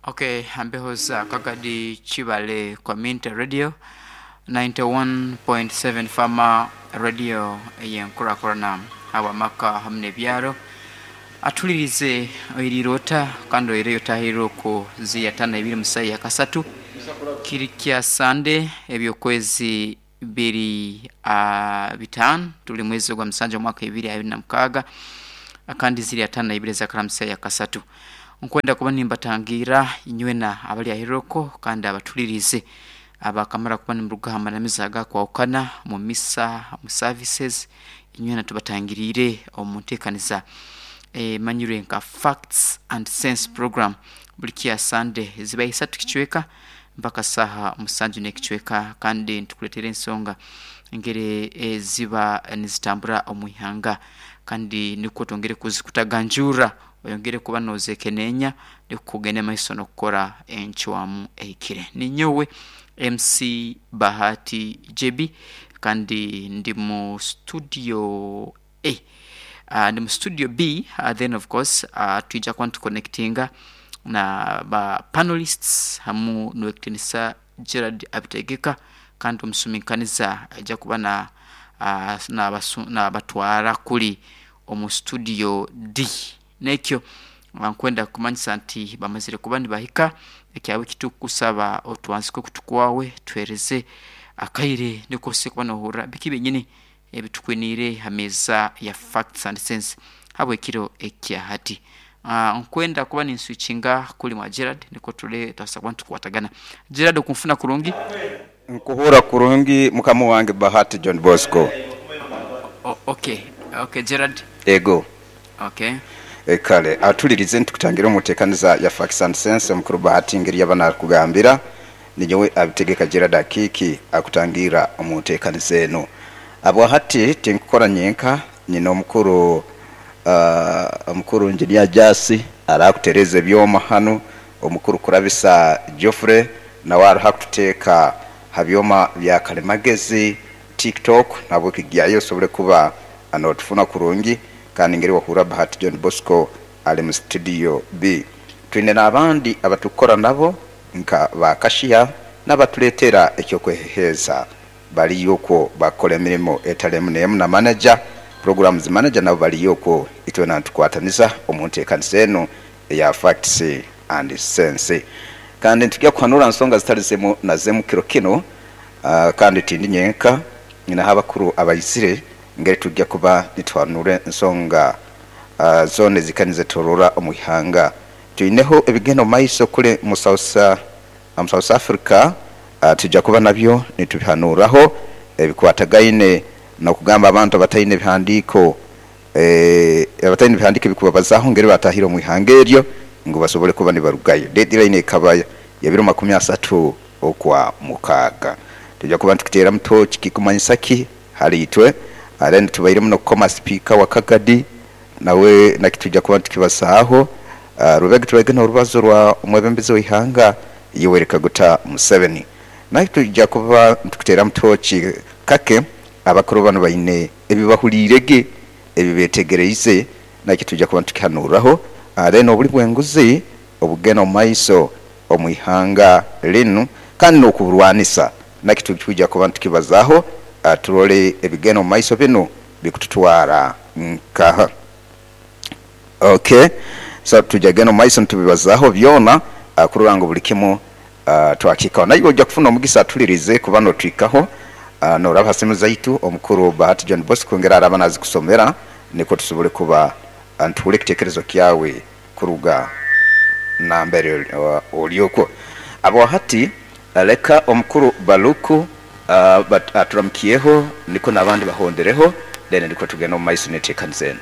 Okay, ambeho za Kagadi Chibale Community Radio 91.7 Farmer Radio ey'enkurakurana habw'amaka hamu n'ebyaro. Atulirize oiriire ota kandi oireyo otahirire oku ziri ataano na ibiri mu saaha ya kasatu kiri kya Sande eby'okwezi biri bitaano tuli mwezi ogwa musanju omwaka 2026 kandi ziri 52 ezakara mu saaha ya kasatu. Nkwenda kuba nimbatangiira inywena abali ahiroko kandi abatulirize abakamara kuba nimuruga ha manamiza agakwahukana mu misa, mu services, inywena tubatangiriire omu nteekaniza emanyirwe nka Facts and Sense program buli kya Sande ziba isatu kicweka mpaka saaha musanju n'ekicweka kandi nitukuleetera ensonga engeri eziba nizitambura omu ihanga kandi nikwo twongere kuzikutaganjurra oyongere kuba noozekeneenya nukwo ogende maiso n'okukora encwamu ehikire. Ninyowe MC Bahati JB kandi ndi mu studio A, ndi mu studio B then of course twija kuba nituconnectinga na ba panelists hamu n'owekitinisa Gerald Abitegeka kandi omusuminkaniza aija kuba nabatwara kuli omu studio D. Nekyo nkwenda kukumanyisa nti bamazire kuba nibahika, ekyawe ekitukusaba otwanzike okutu kwawe tuhereze akaire nukwo osobole kuba nohurra biki byenyini ebitukwiniire ha meeza ya Facts and Sense habw'ekiro ekya hati. Nkwenda kuba ninswitchinga kuli mwa Gerald nukwo turole twasobora kuba nitukwatagana. Gerald okunfuna kurungi? Nkuhurra kurungi mukama wange Bahati John Bosco. Okay, okay Gerald. Ego. Okay. Kale atulirize nitukutangira omu ntekaniza ya Facts and Sense omukuru Bahati ngeri yaba nakugambira ninyowe Abitegeka Gerald Akiiki akutangira omu ntekaniza enu. Habwahati tinkukora nyenka nyina omukuru omukuru Engineer Jasi arakutereza ebyoma hanu, omukuru Kurabisa Geoffrey nawe aroho akututeeka ha byoma bya kalimagezi, TikTok nahabweki gyayo osobole kuba notufuna kurungi kandi ngeri wahurra Bahati John Bosco ali mu studio B. Twine n'abandi abatukukora nabo nka ba cashier n'abatuleetera eky'okweheheeza baliyo okwo bakukora emirimo etali emu n'emu na manager, programs manager nabo baliyo okwo itwena nitukwataniza omu nteekaniza enu eya Facts and Sense. Kandi nitugya kuhanura nsonga zitali zimu na zimu kiro kinu kandi tindi nyenka nyinaho abakuru abaizire ngeri tugya kuba nituhanura ensonga zoona ezika nizetorora omu ihanga. Twineho ebigenda omu maiso kule mu South Africa twija kuba nabyo nitubihanuraho ebikwatagaine n'okugamba abantu abataine ebihandiiko abataine ebihandiiko ebikubabazaho ngeri batahire omu ihanga eryo ngu basobole kuba nibarugayo. Deadline ekaba ya biro makumi asatu okwa mukaaga. Twija kuba nitukiteeramu tooci kikumanyisa ki hali itwe. Then tubairemu n'okukoma sipiika wa Kagadi nawe nakyo twija kuba nitukibazaaho. Rubega tubaire n'orubazo rwa omwebembezi w'eihanga Yoweri Kaguta Museveni. Nakyo twija kuba nitukiteeramu tooci kake abakuru banu baine ebibahuliire ge ebibetegereize nakyo twija kuba nitukihanuraho. Then obuli bw'enguzi obugenda omu maiso omu ihanga linu kandi n'okuburwanisa nakyo twija kuba nitukibazaaho turole ebigenda omu maiso binu bikututwara nkaha. Okay, so twija genda omu maiso nitubibazaaho byona kurora ngu buli kimu twakihikaho. Naiwe oija kufuna omugisa atulirize kuba n'otuhikaho n'oraba ha simu zaitu omukuru Bahati John Bosco ngeri araaba nazikusomera nikwo tusobole kuba nituhurra ekitekerezo kyawe kuruga nambere oli okwo. Habwahati leka omukuru Baluku aturamukyeho nikwo n'abandi bahondereho then nikwo tugende omu maiso n'enteekaniza enu.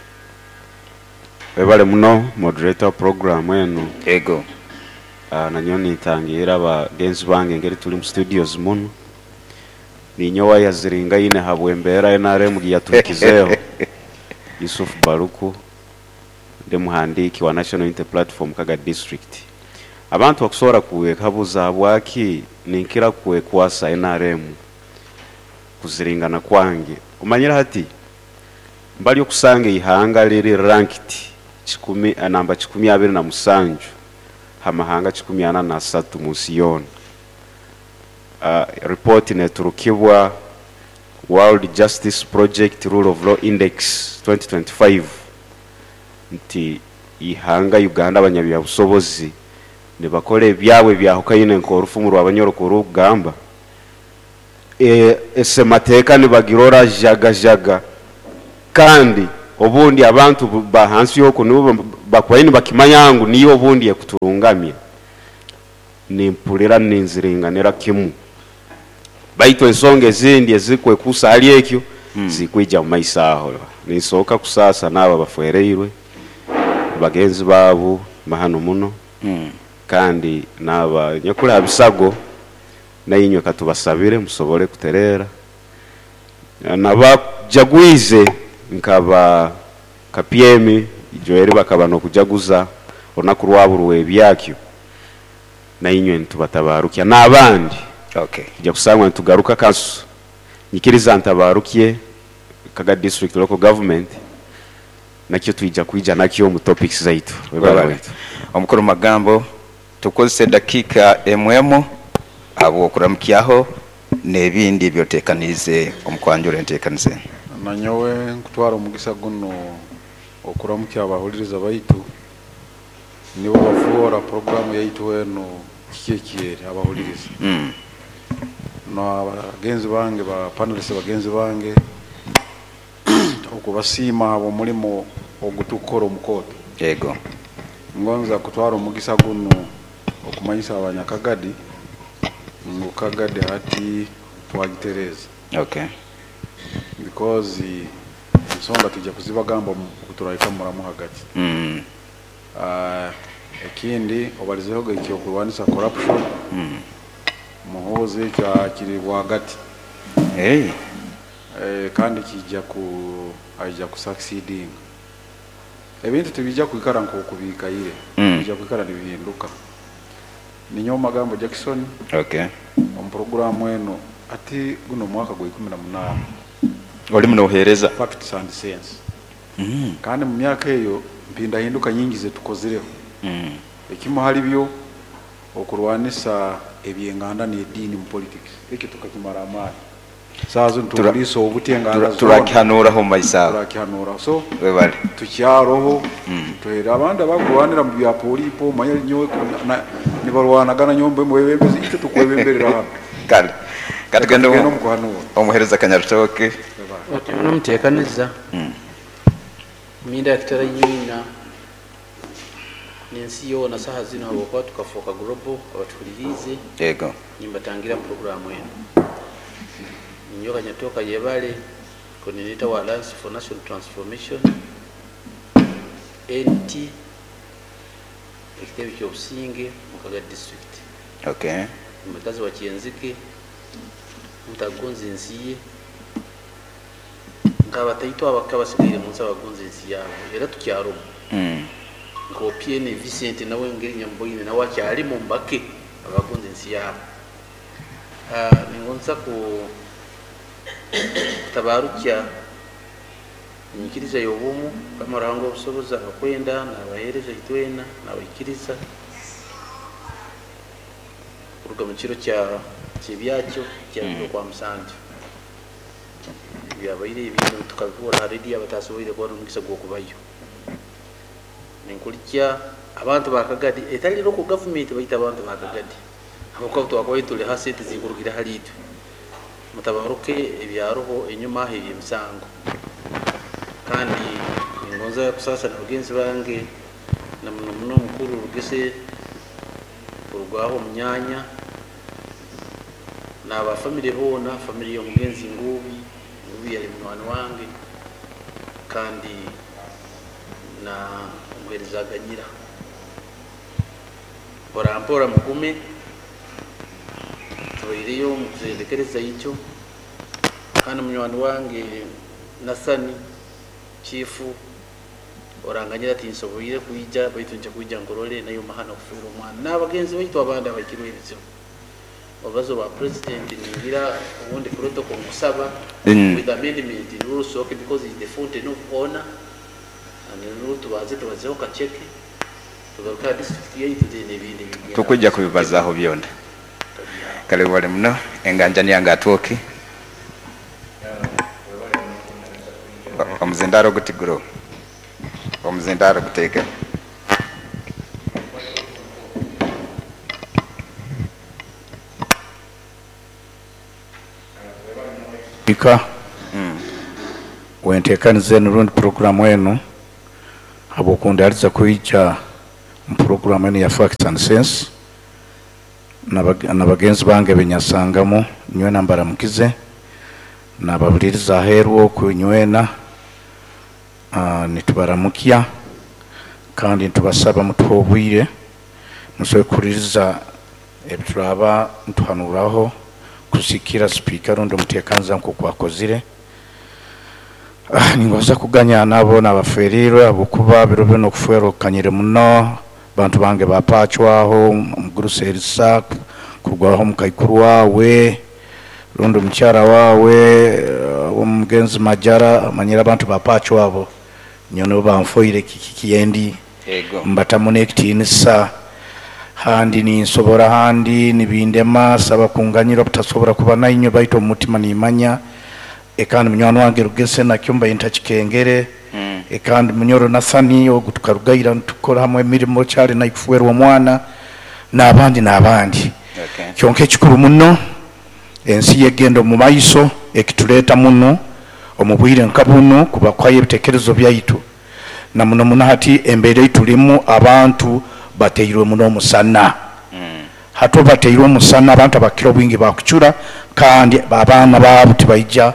Webale muno moderator wa program enu. Ego. Nanyowe nintangiira bagenzi bange engeri tuli mu studios munu. Ninyowe ayaziringaine habw'embeera NRM giyatuhikizeeho, Yusuf Baluku, ndi muhandiiki wa National Unity Platform Kagadi District. Abantu bakusobora kwekabuza habwaki ninkira kwekwasa NRM kuziringana kwange. Omanyire hati mbali okusanga eihanga liri ranked kikumi, namba 227 ha mahanga 43 mu nsi yoona. Report neturukibwa World Justice Project Rule of Law Index 2025 nti ihanga Uganda abanyabyabusobozi nibakora ebyabwe byahukaine nk'orufumu rw'Abanyoro kurugamba esemateeka nibagirora jagajaga, kandi obundi abantu bahansi yoko nibo bakubaye nibakimanya ngu niyo obundi ekuturungamya. Nimpulira ninziringanira kimu, baitu ensonga ezindi ezikwekusa hali ekyo zikwija mu maiso aho. Ninsooka kusaasa n'abo abafereirwe bagenzi baabo mahano muno, kandi n'aba nyakuli ha bisago nainywe katubasabire musobole kutereera. Nabajagwize nkaba KPM Joel bakaba n'okujaguza olunaku rwabo rw'ebyakyo, nainywe nitubatabarukya n'abandi. Tujja kusangwa nitugaruka kasu nyikiriza ntabarukye Kaga District Local Government, nakyo twija kwija nakyo mu topics zaitu. Omukuru magambo tukozese dakika emwemo abo okuramukyaho n'ebindi ebyotekanize omukwanjura entekanize. Nanyowe nkutwara omugisa guno okuramukya abahuliriza baitu, nibo bafuora programu yaitu eno kiki ekyeri abahuliriza. N'abagenzi bange ba panelists bagenzi bange okubasiima omulimu ogutukora omukooto. Yego. Ngonza kutwara omugisa guno okumanyisa abanyakagadi ngu Kagadi hati twagitereza. Because ensonga tujja kuzibagamba kuturahika muramu hagati. Ekindi obalizeho ekyokurwanisa corruption. Muhoozi ekyo kiri bwagati. Kandi kijja ku aija ku succeeding. Ebintu tibijja kwikara nk'okubikaire. Bijja kwikara nibihinduka. Ninyo magambo Jackson. Omu programu eno ati guno mwaka gwa 18. Oli munohereza facts and sense. Kandi mu myaka eyo mpindahinduka nyingi zetukozireho. Ekimu hali byo okurwanisa ebyenganda n'ediini mu politics. Ekyo tukakimara amaani. Saazo nituliisa obuti enganda zona. Turakihanuraho mu maiso aho. Turakihanuraho. So, webale. Tukyaroho, tuhera abandi abakurwanira mu bya polipo, manya nyowe nibarwanagana nyombe mwebembezi, itwe tukwebemberera hano. Kale. Katugende Katugende omu kuhanura. Omuhereza Kanyarutooke. Omuteekaniza. Minda kitara nyina n'ensi yoona saha zino habwokuba tukafuuka global abatuhuliriize. Yego. Nimbatangira programu eno. Ninyoka Nyatoka Yebale, coordinator wa Alliance for National Transformation, NT, ekitebe ky'obusinge mu Kaga District. Omukazi wa Kyenzike, mutagonza ensi ye, nk'abataito abaka basigaire mu nsi abagonza ensi yaabo, era tukyarumu. Nka Opiene Vincent nawe ngeri Nyamboine nawe akyalimu mbake abagonza ensi yaabo. Ningonza ku tabarukya enyikiriza y'obumu Mukama Ruhanga obusobozi abakwenda n'abaheereza itwena n'abaikiriza kuruga mu kiro kyebyakyo kya kwa musanju byabaire ebintu tukabikora ha radio abatasoboire kubona omugisa gw'okubayo. Ninkulikya abantu ba Kagadi etali local government baita abantu ba Kagadi habwokuba twakubayo tuli ha sente zikurukira hali itwe mutabaruke ebyaroho enyuma aho eby'emisango. Kandi ningonza kusasa na bagenzi bange na muno muno mukuru Rugese kurugwaho omunyanya n'aba family boona, family y'omugenzi Ngubi, Ngubi yali munywani wange kandi na omuheereza Aganyira. Mpora mpora mugume tubaireyo omu kuzendekereza ikyo. Kandi munywani wange Nasani chifu oranganyira ati nsoboire kwija baitu nja kwija nkorole nayo mahana kufiira omwana n'abagenzi baitu abandi abakirwe ebizibu. Obazo ba president ningira ubundi protocol nkusaba with amendment rules, okay, because it's the fountain of honor and rule tubaze tubazeho kacheke Tugaruka ha district yaitu, then ebindi bigenda. Tukujja kubibazaaho byona. Kale wali muno enganjani yange atwoki omuzindaro gutiguro omuzindaro guteeke. Ika wentekaniza enu rundi programu enu habwokundaliza kwija mu programu enu ya Facts and Sense na bagenzi bange benyasangamu nywena mbaramukize nababuliriza aheeru oku nywena nitubaramukya kandi nitubasaba mutuhe obwire musobole kuhuliriza ebituraba nituhanuraho kusikira sipiika rundi omuteekaniza nk'oku akozire. Ningoza kuganya nabo nabaferirwe habwokuba biro bino okufwerwa okukanyire muno bantu bange bapachwaho omugurusi Erisa kurwaho omukaikuru wawe rundi omukyara wawe omugenzi Majara amanyire abantu bapachwabo nyono banfoire kikiendi mbatamu n'ekitiinisa handi ninsobora handi nibindema saba kunganyira obutasobora kuba nainywe baitu omu mutima nimanya ekandi munywani wange Rugese nakyo mbaye ntakikengere ekandi munyoro Nathani ogu tukarugaira nitukora hamwe emirimo kyali naikufuerwa omwana n'abandi n'abandi. Kyonka ekikuru muno ensi yegenda omu maiso ekituleeta muno omu bwire nka buno kuba kwayo ebitekerezo byaitu na muno muno hati embeera eitulimu abantu bateirwe muno omusana. Hati bateirwe omusana abantu abakira obwingi bakucura kandi abaana baabo tibaija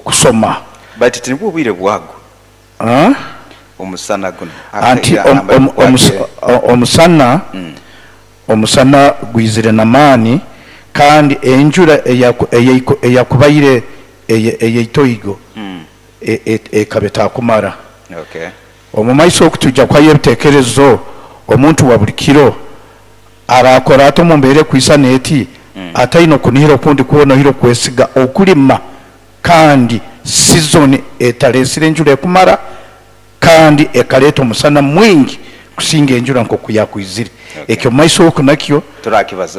kusoma. Bati tinibwo obwire bwago omusana guno anti omusana omusana gwizire namaani kandi enjura eyakubaire eyeitoigo ekaba etakumara. Omu maiso okutujja kwayo ebitekerezo omuntu wa buli kiro arakora ate omu mbeera ekwisana eti ataine okunihira okundi kwona ohire okwesiga okulima kandi season etalesire enjura ekumara kandi ekaleeta omusana mwingi kusinga enjura nk'oku yakwizire. Ekyo maiso oku nakyo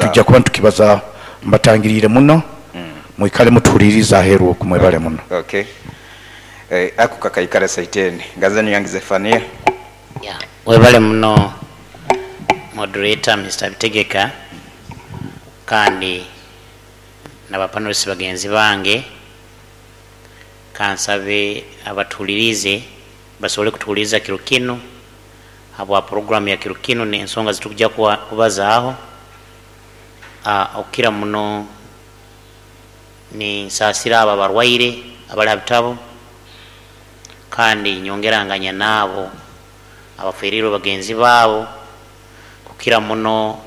tujja kuba nitukibazaho. Mbatangiriire muno mwikale mutuhulirize aheeru oku mwebale muno. Ako kakaikara saiteni ngazani yange Zefania. Webale muno moderator Mr. Bitegeka kandi n'abapanelist bagenzi bange kansabe abatuhulirize basobole kutuhuliriza kiro kinu habwa programu ya kiro kinu n'ensonga zitukujja kubazaaho. Okukira muno ninsaasira abo abarwaire abali ha bitabo kandi nyongeranganya naabo abaferirwe bagenzi baabo kukira muno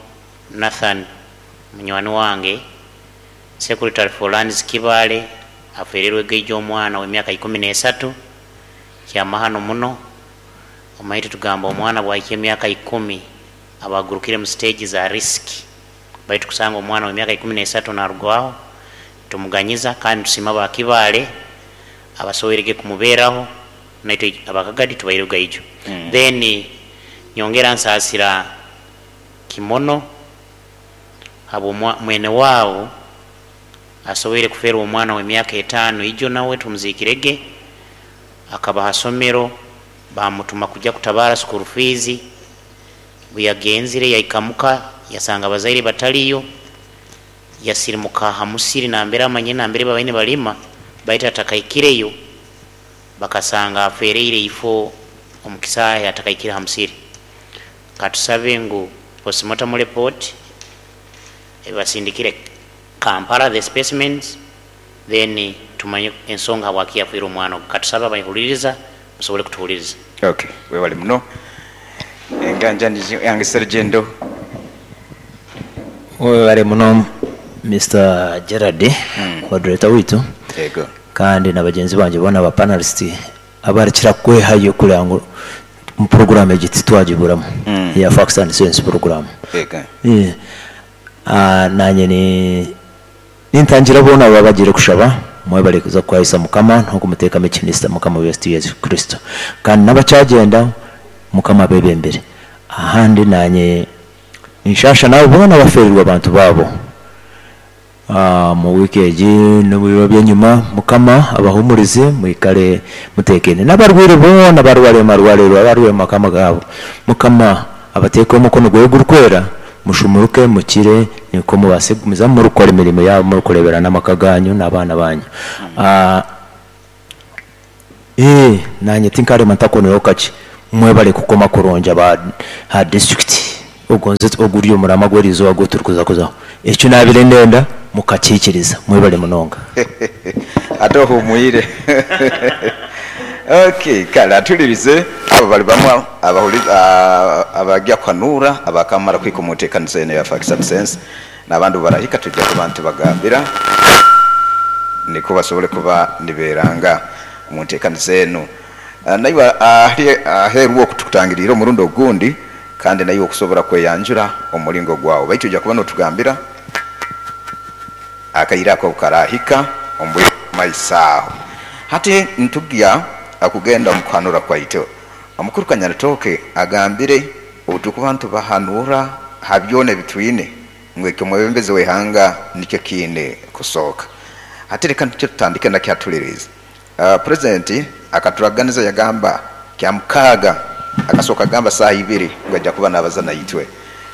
Nathan munywani wange secretary for lands Kibale aferirwe geija omwana w'emyaka 13 kyamahano muno. Omaite tugamba omwana bwahika emyaka 10 abagurukire mu stage za risk baitu kusanga omwana w'emyaka 13 narugwaho tumuganyiza kandi tusima ba Kibale abasowerege kumubeeraho naitwe abakagadi tubairuga ijo. Then nyongera nsaasira Kimono abo mwene wabo asoboire kuferwa omwana w'emyaka 5 ijo nawe tumuzikirege akaba hasomero bamutuma kujja kutabara school fees buyagenzire yaikamuka yasanga abazaire bataliyo yasirimuka hamusiri nambera amanye nambere babaine balima baita atakaikireyo bakasanga afereire ifo omukisaya atakaikira hamusiri. Katusabe ngu postmortem report ebasindikire Kampala the specimens then tumanye ensonga habwaki yafiire omwana. Katusaba abayihuliriza musobole kutuhuliriza. Webale muno enganja yange Sergendo. Webale muno Mr. Gerard moderator witu kandi na bagenzi banje bona ba panelist abarikira kwehayo kugira ngo mu program egiti twagiburamu ya Facts and Sense program. Nanye ni nintangira bona babagire kushaba mwebale kuza kwahisa mukama nko kumuteka mekinista mukama wetu Yesu Kristo kandi nabacagenda mukama bebembere. Ahandi nanye ninshasha nabo boona baferirwe abantu babo mu wiki egi n'ebiro by'enyuma. Mukama abahumurize, mwikale mutekene. N'abarwaire boona barware amarwariro, abarwaire mu makama gabo, Mukama abateeke omukono gwe gurikwera, mushumuruke mukire, niko mubase kugumizamu murikukora emirimo yabo, murikurebera n'amaka ganyu n'abaana banyu. Nanye tinkarema ntakoneho kaki. Mwebale kukoma kurungi aba ha district ogonze oguri omurama gw'erizooba gwo turikuza kuzaho. Ekyo nabire ndenda mukakikiriza. Mwebale munonga. Ate ohumwire. Okay, kale atulirize abo bali bamwe abajja kuhanura abakamara kwika omu nteekaniza eno ya Facts and Sense, n'abandi barahika tujja kuba ntibagambira niko basobole kuba niberanga omu nteekaniza eno. Naiwe aheeru okutukutangirira omurundi ogundi, kandi naiwe okusobora kweyanjura omulingo gwawe, baitu ojja kuba notugambira akaire ako karahika omu maiso aho. Hati ntugya akugenda omu kuhanura kwaitu. Omukuru Kanyarutooke agambire obutukuba ntubahanura ha byona ebitwine ngu ekyo omwebembezi w'eihanga nikyo kiine kusooka. Hati reka nikyo tutandike nakyo atulirize. Purezidenti akaturaganiza yagamba kyamukaaga, akasooka agamba saaha ibiri ngu ajja kuba nabaza naitwe,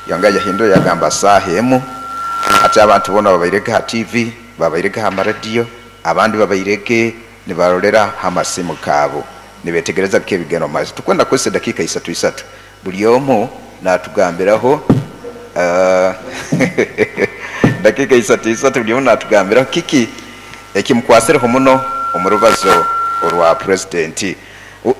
yongera yahindura yagamba saaha emu. Hati abantu boona babairege ha TV, babairege ha maradiyo, abandi babairege nibarolera ha masimu gaabo nibetegereza biki ebigenda omu maiso. Tukwenda kukozesa edakiika isatu isatu, buli omu natugambiraho dakiika isatu isatu, buli omu natugambiraho kiki ekimukwasireho muno omu rubazo orwa purezidenti.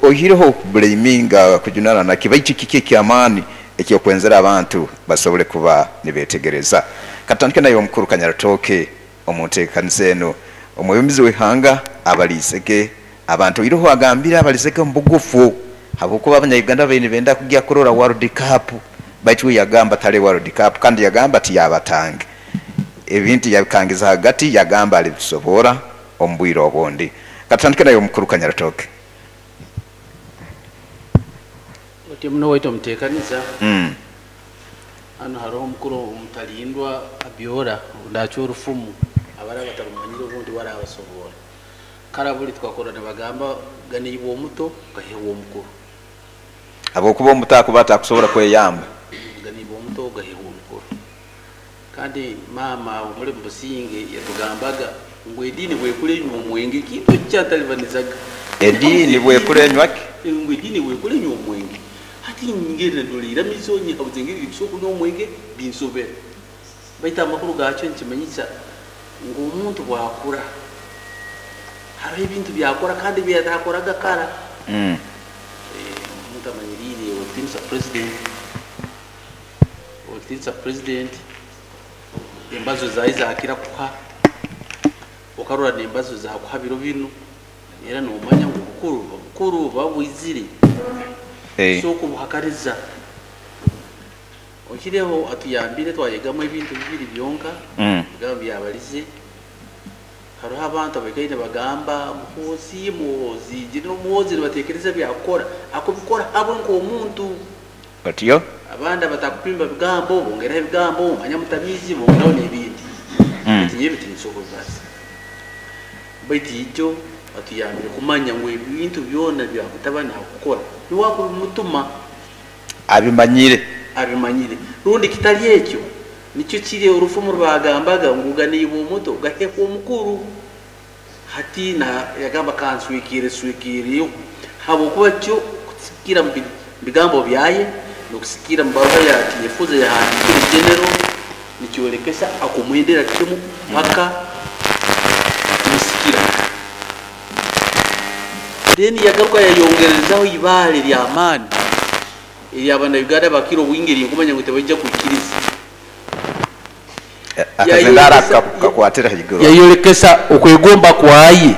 Oihireho okubulaminga kujunana naki, baitu kiki ekyamaani ekyokwenzera abantu basobole kuba nibetegereza. Katutandike naye omukuru Kanyarutooke omu nteekaniza eno. Omwebembezi w'eihanga abalizege abantu, oihireho agambire abalizege omu bugufu, habwokuba abanya-Uganda babaire nibenda kugya kurora World Cup, baitu we yagamba tale World Cup, kandi yagamba tiyabatange ebintu yabikangiza hagati, yagamba alibisobora omu bwire obundi. Katutandike naye omukuru Kanyarutooke. Oti muno waitu omuteekaniza. Hano hariho omukuru omutalindwa Abyora ndakya orufumu, abari abatarumanyire obundi warabasobora. Kara buli twakora nibagamba ganiibwe omuto gahebwa omukuru. Habwokuba omuto akuba atakusobora kweyamba. Ganiibwe omuto gahebwa omukuru. Kandi maama omuli mubusinge yatugambaga ngu ediini bwekulenywa omwenge kintu ekyatalibanizaga. Ediini bwekulenywa ki? Ngu ediini bwekulenywa omwenge. Hati ngeri ndolera mizo nyabuze ngeri bikusobola kunywa omwenge binsobera. Baitu amakuru gakyo nikimanyisa ngu omuntu bwakura hariho ebintu byakora kandi byatakoraga kara. Omuntu amanyiriire otiinisa president, otiinisa president, embazo zaye zakira kuha, okarora n'embazo zakuha biro binu, era nomanya ngu obukuru babwizire. So okubuhakaniza. Okireho atuyambire twayegamu ebintu bibiri byonka, bigambo byabalize. Hariho abantu abaikaire bagamba Muhoozi, Muhoozi, General Muhoozi nibatekereza byakukora, akubikora habwe nk'omuntu. Otyo? Abandi abatakupimba bigambo, bongeraho ebigambo, manya mutamizi, bongeraho n'ebindi. Baitu nyewe tinsobola. Baitu ijo atuyambire kumanya ngu ebintu byona bya mutabani akukora, niwe akubimutuma. Abimanyire. Abimanyire. Rundi kitali ekyo, nikyo kiri orufumu rwagambaga ngu ganiibwe omuto gahekwa omukuru. Hati na yagamba kanswikire swikiriyo, habwokuba kyo kusikira mu bigambo byaye n'okusikira mu baruha ya Tinyefuza yahandikire General, nikyolekesa akumwendera kimu paka kumusikira. Then yagaruka yayongerezaho ibaale ly'amaani ery'abannayuganda bakira obwingi erinkumanya ngu tebaija kwikiriza. Akazindara kakwatira haiguru. Yayolekesa okwegomba kwaye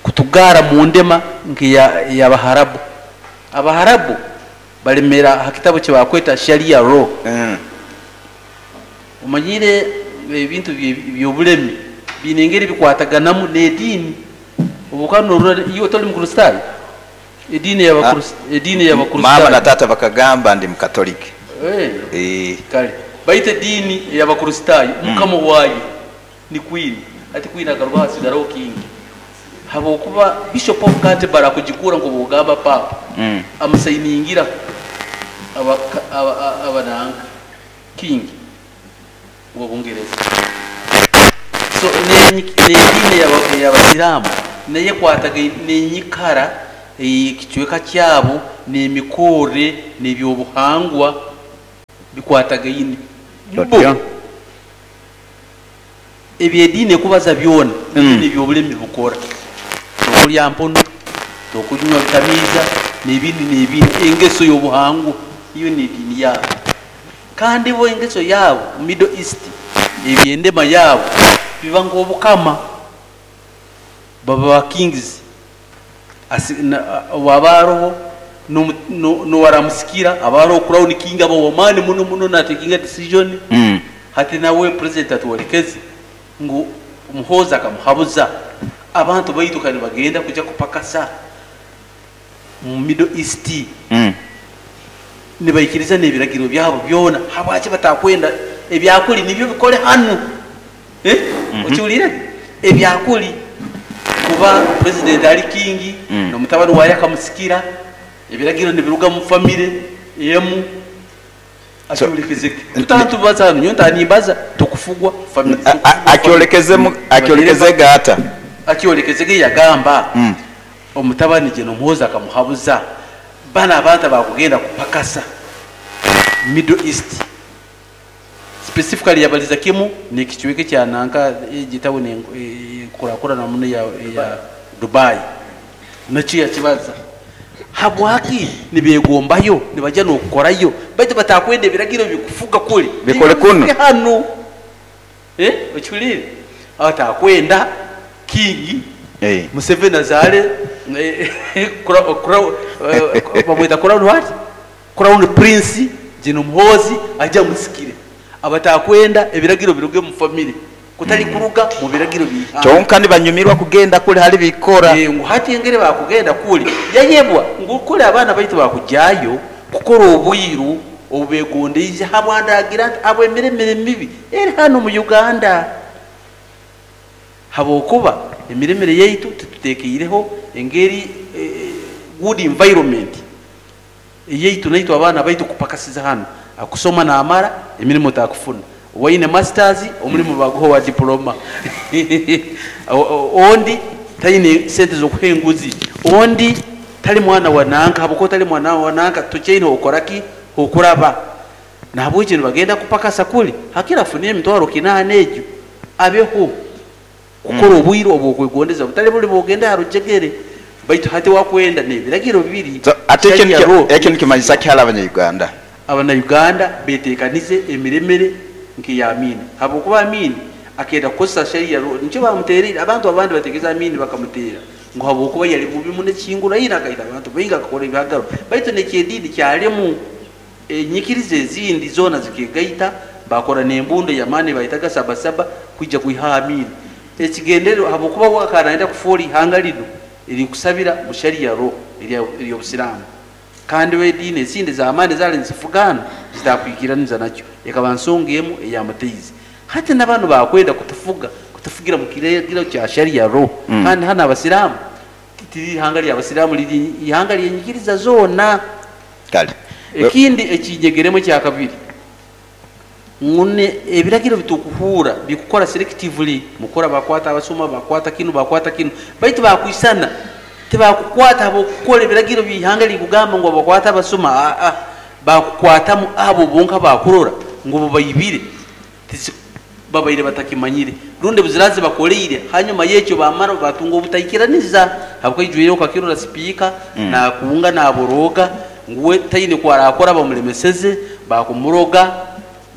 kutugara mu ndema nk'ey'Abaharabu. Abaharabu balemera ha kitabu kye bakweta Sharia law. Omanyire ebintu by'obulemi biine engeri bikwataganamu n'ediini. Obu okaba norora iwe toli Mukristaayo? Ediini ediini Mama y'Abakristaayo. Na tata bakagamba ndi mukatoliki. Kale baitu ediini ey'Abakristaayo mukama waayo ni queen. Ati queen akaruga hasigaraho king, habwokuba Bishop of Canterbury akugikura nk'obwogamba papa amusayiningira abananga king wa Bungereza. So n'ediini ey'Abasiraamu naye ekwataga n'enyikara ekicweka kyabo n'emikorre n'ebyobuhangwa bikwatagaine. Bo ebyediini ekubaza byona nebyobulemi bukora, tokulya mpono, tokunywa bitamiiza, n'ebindi n'ebindi. Engeso y'obuhangwa iyo n'ediini yaabo. Kandi bo engeso yaabo Middle East, ebyendema yaabo biba nk'obukama, baba ba kings. Waba aroho nowaramusikira aba aroho crown king, aba wamaani muno muno natekinga decision. Hati nawe president atwolekeze ngu Muhoozi akamuhabuza abantu baitu kandi bagenda kuja kupakasa mu Middle East nibaikiriza n'ebiragiro byabo byona. Habwaki batakwenda ebyakuli nibyo bikole hanu, eh? Okiwulire ebyakuli kuba president ali king n'omutabani waye akamusikira, ebiragiro nibiruga mu famire emu. Akyolekezeke tutantubaza hano nyowe ntanimbaza tukufugwa family. Akyolekeze gata? Akyolekezege yagamba omutabani gye nomuhoza akamuhabuza bana abantu bakugenda kupakasa Middle East, specifically yabaliza kimu nekicweke kya nanka egitabu nkurakurana muno ya Dubai, nakyo yakibaza habwaki nibegombayo nibajya nokukorayo baitu batakwenda ebiragiro bikufuga kuli Bikole kuno. Hano, okiwulire abatakwenda king Museveni azale bamwita crown what, crown prince Gen Muhoozi ajja musikire, abatakwenda ebiragiro biruge mu family kutali kuruga mu biragiro bihanga. Kyonka nibanyumirwa kugenda kuli hali bikora. Ngu hati engeri bakugenda kuli yayebwa ngu kuli abaana baitu bakujayo kukora obwiru obubegondeize habwandagira nti abwemiremire mibi eri hano mu Uganda, habwokuba emiremire yaitu tututekeireho engeri good environment eyaitu naitu abaana baitu kupakasiza hano akusoma namara emirimu takufuna waine masters omulimu baguha wa diploma ondi taine sente zokuha enguzi, ondi tali mwana wa nanka, habwokuba tali mwana wa nanka tukyaine okoraki okuraba. Nahabwekyo nibagenda kupakasa kuli hakira afune emitwaro 8 egyo abeho kukora obwire obwokwegondeza butali buli bwogenda harujegere baitu hati wakwenda n'ebiragiro bibiri. So, ate ekyo nikimanyisa ki hali Abanya-Uganda? Abanya-Uganda betekanize emiremere nk'eya Amini, habwokuba Amini akenda kukozesa sharia law nikyo bamutereire. Abantu abandi bategeza Amini bakamutera ngu habwokuba yali bubi muno ekingura ina akaita abantu baingi akakora ebihagaro, baitu nekyediini kyalimu enyikiriza ezindi zoona zikegaita bakora n'embundo y'amaani bayitaga sabasaba kwija kwiha Amini ekigendererwa, habwokuba wakanaenda kufuura ihanga lino erikusabira mu sharia law ery'obusiraamu, kandi wediini ezindi z'amaani zaali nizifugana zitakwikiraniza nakyo, ekaba nsonga emu eyamuteize. Hati n'abantu bakwenda kutufuga kutufugira mu kiragiro kya sharia law kandi hano abasiraamu tiri ihanga ly'abasiraamu liri ihanga lyenyikiriza zoona. Kale ekindi ekinyegeremu ekya kabiri ngune ebiragiro bitukuhura bikukora selectively, mukora bakwata abasoma bakwata kinu bakwata kinu, baitu bakwisana tibakukwata abokukora ebiragiro by'ihanga likugamba ngu bakwata abasoma, bakukwatamu abo bonka bakurora ngu babayibire babaire batakimanyire rundi buzirazi bakoleire hanyuma yekyo bamara batunga obutaikiraniza habwo kakirora speaker na kuunga na boroga nguwe taine kwarakora bamulemeseze bakumuroga,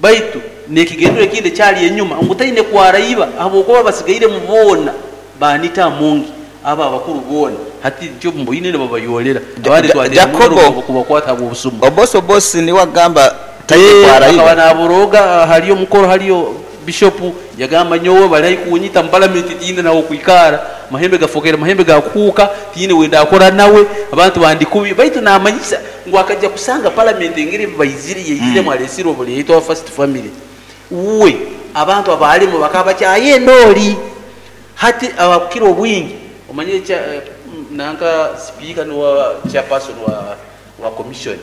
baitu nekigendero ekindi kyali enyuma ngu taine kwaraiba habwokuba basigaire mubona banita mungi aba abakuru bona hati njo mboine ne babayolera abandi Jacobo kubakwata abo obusumu obosi obosi ni wagamba taine kwaraiba akaba naboroga haliyo mukoro haliyo bishop yagamba nyowe bali kunyita mu parliament tinde nawo kwikara Mahembe gafokere mahembe gakuuka, tiine wenda akora nawe, abantu bandi kubi. Baitu namanyisa ngu akajja kusanga parliament engeri baizire yaizire mwalesire obuleetwa first family. Uwe abantu abalimu bakaba bakyaye endoli. Hati abakukira obwingi omanyire cha nanka speaker nuwa chairperson wa commission.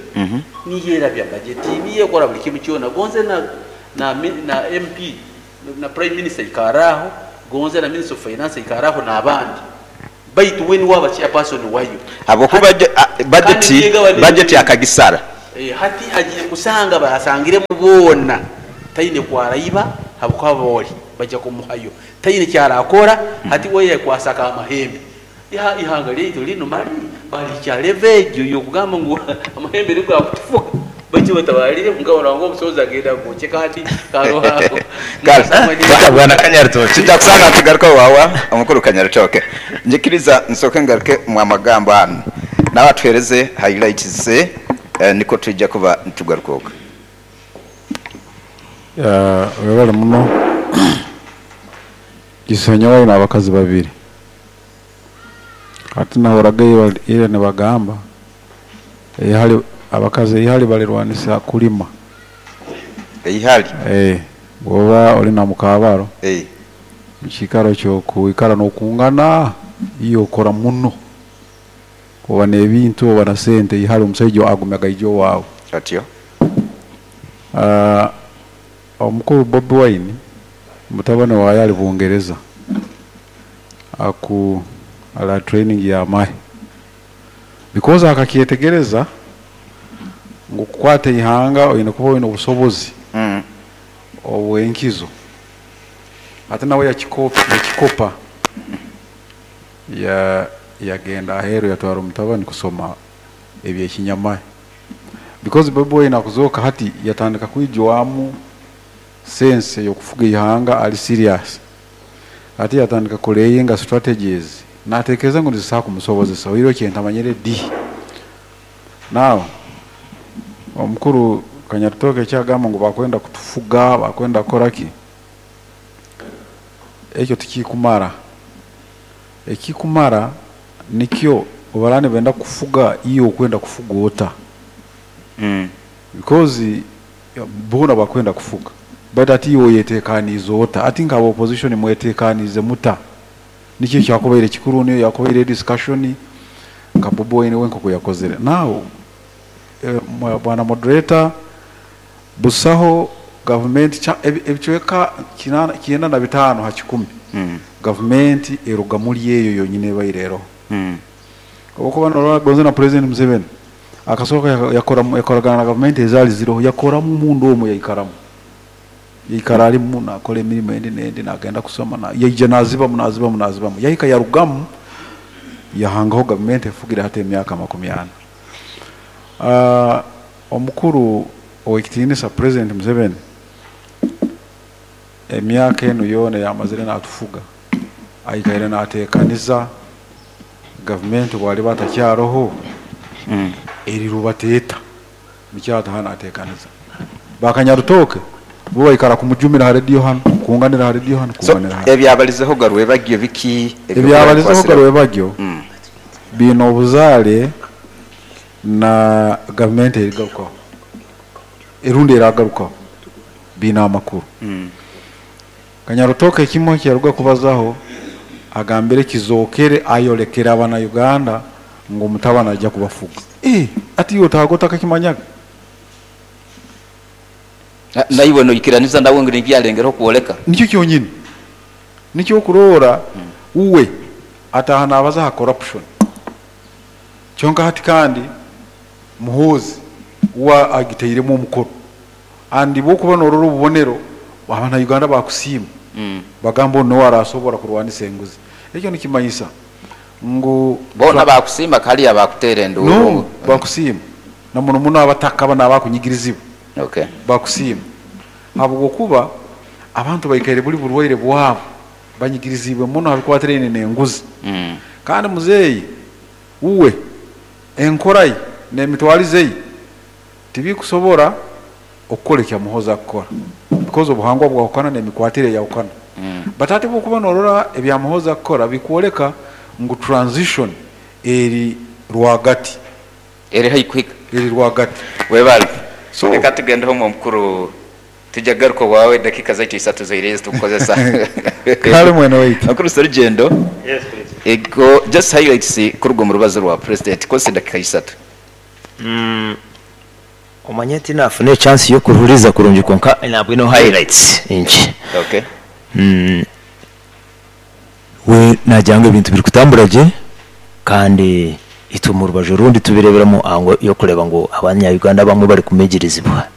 Niye bya budget, niye kora buli kimu kyona. Gonze na MP na prime minister ikaraho, gonze na minister of finance ikaraho na abandi. Baitu weni waba chairperson wayo. Abokuba budget akagisara. Hati agiye kusanga basangire mubona taine kwaraiba habuka boli bajja kumuhayo. Taine kyarakora hati we yakwasaka amahembe. Ihanga lyetu lino mali bali kya levejo yokugamba ngu amahembe niko akutufuka. Bachi batabalire mugabo ngo omusoza agenda goche kandi karoha. Bwana Kanyaritoke tutakusanga tugaruka wawa omukuru Kanyaritoke. Njikiriza nsoke ngaruke mu amagambo hano. Nabatwereze highlights ze niko tujja kuba ntugaruka. Webale muno. Gisonyawa na abakazi babiri. Ati nahoraga ile ne bagamba ihali abakazi ihali balirwanisa kulima. Ihali bwoba oli na mukabaro mukikaro kyo kuikara nokungana iyo okora muno oba nebintu oba na sente ihali omusajja agumaga ijo wawe atyo. Omukuru Bobi Wine mutabane wa yali Bungereza aku ala training ya mahe because akakyetegereza ngo kukwata ihanga oyina kuba oyina obusobozi obwenkizo ate nawe yakikopa ya yagenda ahero yatwara omutabani kusoma ebyekinyamahe because Bobi Wine akuzoka hati yatandika kwijwamu sense yokufuga ihanga ali serious ati yatandika kulayinga strategies natekereza ngo ndisaka kumusobozesa oiro kyentamanyire di. Now omukuru Kanyaritoke kyagamba ngo bakwenda kutufuga bakwenda koraki ekyo tikikumara. Ekikumara nikyo obarane benda kufuga iyo kwenda kufuga ota because bona bakwenda kufuga but ati iyo yetekanizo ota ati nga opposition mwetekanize muta nikyo kyakobaire kikuru niyo yakobaire discussion nka Bobi Wine wenko yakozere. Now bwana moderator busaho government ebichweka 95 ha 10 government eruga muri yeyo yonyine bayirero. Obukuba norora gonze na president Museveni akasoka yakora yakoragana na government ezali ziro yakora mu mundu omwe yaikaramu yaikara ali mu nakora emirimo endi nendi nagenda kusoma na yaije naziba munaziba yahika yarugamu yahangaho government efugira hata emyaka 40. Omukuru owekitinisa president Museveni emyaka eno yona yamazire natufuga aikaire natekaniza government bwali batakyaroho erirubateeta mikyata hana atekaniza Bakanyarutoke bo baikara kumujumira ha radio hano kunganira ha radio hano kunganira hano. Ebyabalizeho garwe bagiye biki ebyabalizeho garwe bagyo bino obuzale na government erigarukaho erundi eragarukaho bina amakuru. Kanyarutoke kimwe kyaruga kubazaho agambire kizokere ayolekera abana Uganda ngo mutabana ajya kubafuga ati yo tagota kakimanyaga naiwe no ikiraniza ndawe ngo ngibyalengera kuoleka nicyo kyonyine nicyo kurora uwe atahana abaza ha corruption cyonka hati kandi Muhozi wa agiteiremo omukoro andi bo kuba nororo obubonero abana Uganda bakusiima bagamba no arasobora kurwanisa enguzi ekyo nikimanyisa ngo bona bakusiima kali abakutere nduru no bakusiima na muno muno abataka bana abakunyigirizibwa okay bakusiima habwo kuba abantu baikaire buli burwaire bwabo banyigirizibwe muno habikwatirene n'enguzi kandi muzeyi uwe enkorayi n'emitwalize tibikusobora okukola ekya Muhozi akukora because obuhangwa bwahukana n'emikwatire yahukana. But ate bwokuba norora ebya Muhoozi akukora bikwoleka ngu transition eri rwagati. Eri haihi kuhika. Eri rwagati. Webale. So reka tugendeho omukuru, tujja kugaruka owaawe, dakika zaitu isatu zoireyo ezitukukozesa. Kale mwene waitu. Mukuru Serugendo. Yes, please. Ego, just highlights kuruga omu rubazo rwa president, kozesa edakika isatu. Omanye tinafuna echance y'okuhuriza kurungi, konka nabwino highlights inki. Okay. We nagira ngu ebintu biri kutambura gye, kandi itwe mu rubaju orundi tubireeberamu ahango y'okureeba ngu abanya-Uganda abamwe bari kumigirizibwa.